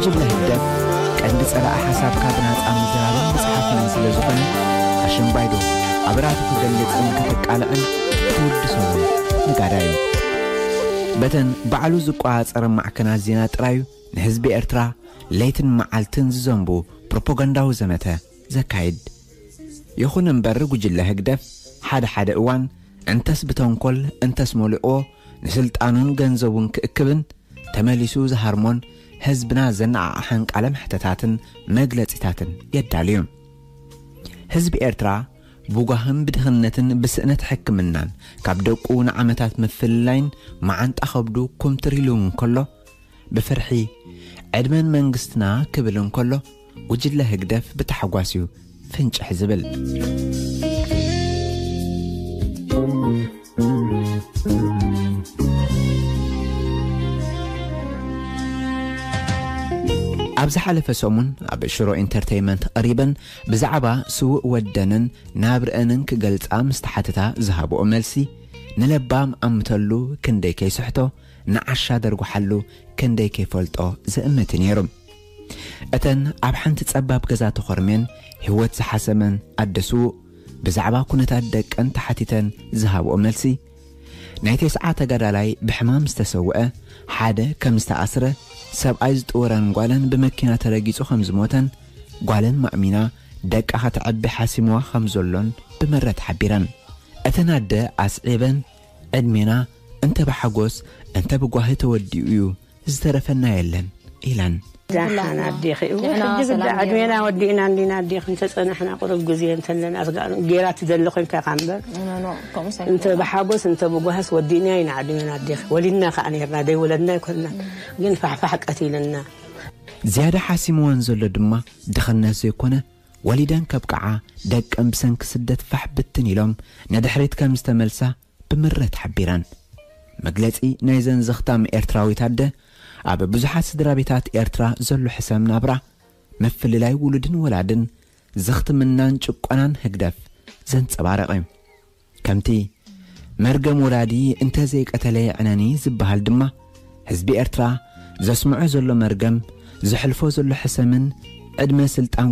ጉጅለ ህግደፍ ቀንዲ ጸላኢ ሓሳብካ ብናጻ ምዝራብን ምጽሓፍን ስለ ዝኾነ፣ ኣሽምባይዶ ኣብ ራእዩ ክገልጽን ከተቃልዕን ትውድሰሉ ነጋዳዩ። በተን ባዕሉ ዝቆጻጸረ ማዕከናት ዜና ጥራዩ ንህዝቢ ኤርትራ ለይትን መዓልትን ዝዘንቡ ፕሮፓጋንዳዊ ዘመተ ዘካይድ። ይኹን እምበር ጉጅለ ህግደፍ ሓደ ሓደ እዋን እንተስ ብተንኮል እንተስ መሊእዎ ንስልጣኑን ገንዘቡን ክእክብን ተመሊሱ ዝሃርሞን ህዝብና ዘነዓዓሐን ቃለ መሕተታትን መግለጺታትን የዳልዩ። ህዝቢ ኤርትራ ብጓህን ብድኽነትን ብስእነት ሕክምናን ካብ ደቁ ንዓመታት ምፍልላይን መዓንጣ ከብዱ ኩምትር ኢሉ እንከሎ ብፍርሒ ዕድመን መንግስትና ክብል እንከሎ ጉጅለ ህግደፍ ብታሕጓስ እዩ ፍንጭሕ ዝብል። ኣብ ዝሓለፈ ሰሙን ኣብ ሽሮ ኢንተርቴይመንት ቀሪበን ብዛዕባ ስውእ ወደንን ናብርአንን ክገልጻ ምስ ተሓተታ ዝሃብኦ መልሲ ንለባም ኣምተሉ ክንደይ ከይስሕቶ ንዓሻ ደርጉሓሉ ክንደይ ከይፈልጦ ዘእምት ነይሩ። እተን ኣብ ሓንቲ ጸባብ ገዛ ተኾርሜን ህይወት ዝሓሰመን ኣደ ስዉእ ብዛዕባ ኩነታት ደቀን ተሓቲተን ዝሃብኦ መልሲ ናይ ተስዓ ተጋዳላይ ብሕማም ዝተሰውአ ሓደ ከም ዝተኣስረ ሰብኣይ ዝጥውረን ጓለን ብመኪና ተረጊጹ ከም ዝሞተን ጓለን ማእሚና ደቃ ከተዕቢ ሓሲምዋ ከም ዘሎን ብምረት ሓቢረን። እተን ኣደ ኣስዒበን ዕድሜና እንተ ብሓጎስ እንተ ብጓሂ ተወዲኡ እዩ ዝተረፈና የለን ኢለን። ዳሓን ኣዴኺ እወ ንሕና ሕጂ ግዳ ሰላም ዕድሜና ጌርና። ወዲእና እንዲና ኣዴኺ እንተጸናሕና ቁሩብ ግዜ እንተለና ኣስጋ- ጌራ ትደሊ ኮንካ ኢኻ እምበር ኖ፣ ኖ፣ ከምኡ ሰይኮነ። እንተ ብሓጎስ እንተ ብጓህስ ወዲእና ኢና ዕድሜና ኣዴኺ ወሊድና ከዓ ነርና ደይወለድና ኣይኮንና ግን ፋሕፋሕ ቀቲልና። ዝያዳ ሓሲምወን ዘሎ ድማ ድኽነት ዘይኮነ ወሊደን ከብቅዓ ደቀን ብሰንኪ ስደት ፋሕ ብትን ኢሎም ንድሕሪት ከም ዝተመልሳ ብምረት ሓቢረን። መግለጺ ናይዘን ዘኽታም ኤርትራዊት ኣደ ኣብ ብዙሓት ስድራ ቤታት ኤርትራ ዘሎ ሕሰም ናብራ ምፍልላይ ውሉድን ወላድን ዘኽትምናን ጭቆናን ህግደፍ ዘንጸባረቐ እዩ። ከምቲ መርገም ወላዲ እንተ ዘይቀተለ የዕነኒ ዝበሃል ድማ ህዝቢ ኤርትራ ዘስምዖ ዘሎ መርገም ዘሕልፎ ዘሎ ሕሰምን ዕድመ ስልጣን